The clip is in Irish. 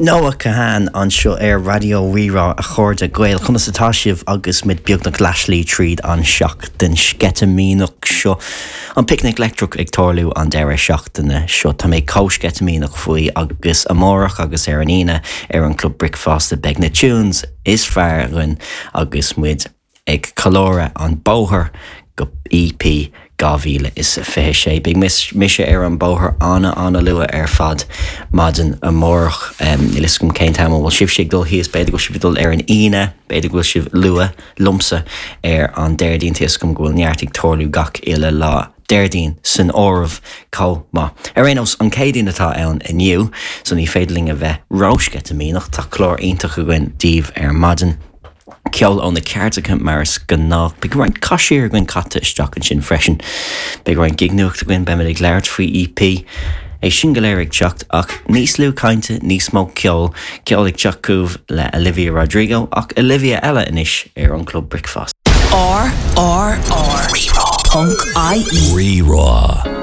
Noah Kahan anseo ar Raidió Rí-Rá a chairde Gael, conas atá sibh agus muid beagnach leathshlí tríd an seachtain sceitimíneach seo. An Picnic Leictreach ag tarlú an deireadh seachtaine seo. Tá mé chomh sceitimíneach faoi agus amárach agus ar an Aoine ar an Club Bricfeasta beidh na tunes is fearr againn agus muid ag ceiliúradh an bóthar go EP 2026. Beidh mise ar an bóthar ana-ana-luath ar fad maidin amárach. Níl fhios agam cén t-am a bhfuil sibhse ag dul thíos, b'fhéidir go bhfuil sibh ag dul ar an Aoine, b'fhéidir go bhfuil sibh luath liomsa ar an Déardaoin, tá fhios agam go bhfuil neart ag tarlú gach uile lá, Déardaoin san áireamh chomh maith. Ar aon nós, an Chéadaoin atá ann inniu, so ní féidir linn a bheith ró-sceitimíneach, tá clár iontach againn daoibh ar maidin. Ceol ó na ceardacha mar is gnách. Beidh roinnt caisiar againn caite isteach ansin freisin. Beidh roinnt gig-nuacht againn, beimid ag labhairt faoi EP. É sin go léir ag teacht ach níos lú cainte, níos mó ceoil. Ceol ag teacht chugaibh le Olivia Rodrigo ach Olivia eile anois ar an Club Bricfeasta. R R R. Rí-Rá. Ponc IE. Rí-Rá.